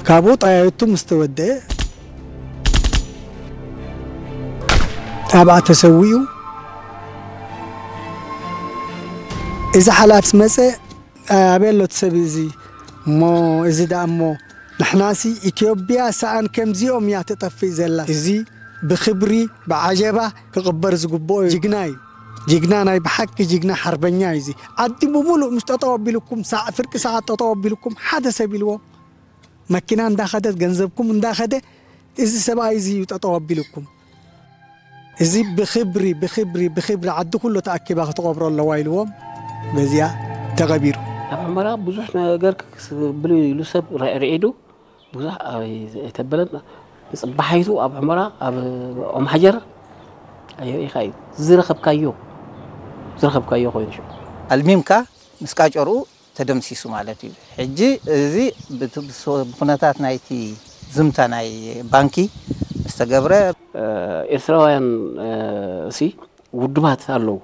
ካብኡ ጠያይቱ ምስ ተወደአ ኣብኣ ተሰዊኡ። እዚ ሓላፍስ መጸ፣ ኣበይ ኣሎ እቲ ሰብ እዚ? እሞ እዚ ደኣ እሞ ንሕናሲ ኢትዮጵያ ሰኣን ከምዚኦም እያ ትጠፍእ ዘላ። እዚ ብኽብሪ ብዓጀባ ክቕበር ዝግብኦ ጅግና እዩ። ጅግና ናይ ብሓቂ ጅግና ሓርበኛ እዩ። እዚ ዓዲ ብምሉእ ምስ ጠጠው ኣቢልኩም፣ ሳዕ-፣ ፍርቂ ሰዓት ጠጠው ኣቢልኩም፣ ሓደ ሰብ ኢልዎም፣ መኪና እንዳኸደት፣ ገንዘብኩም እንዳኸደ፣ እዚ ሰብኣይ እዚ እዩ ጠጠው ኣቢልኩም። እዚ ብኽብሪ፣ ብኽብሪ፣ ብኽብሪ ዓዲ ኩሉ ተኣኪባ ክትቐብሮ ኣለዋ ኢልዎም፣ በዚኣ ተቐቢሩ። ኣብ ሑመራ ብዙሕ ነገር ክብል ኢሉ ሰብ ርዒዱ ብዙሕ ኣይተበለን። ብፅባሓይቱ ኣብ ሑመራ ኣብ ኦም ሓጀር ኣየርኢኻ እዩ ዝረኸብካዮ፣ ዝረኸብካዮ ኮይኑ ሽዑ ኣልሚምካ ምስ ቃጨርኡ ተደምሲሱ ማለት እዩ። ሕጂ እዚ ብት-፣ ብሶ-፣ ብኩነታት ናይቲ ዝምታ ናይ ባንኪ ዝተገብረ ኤርትራውያን እሲ ውድባት ኣለዉ።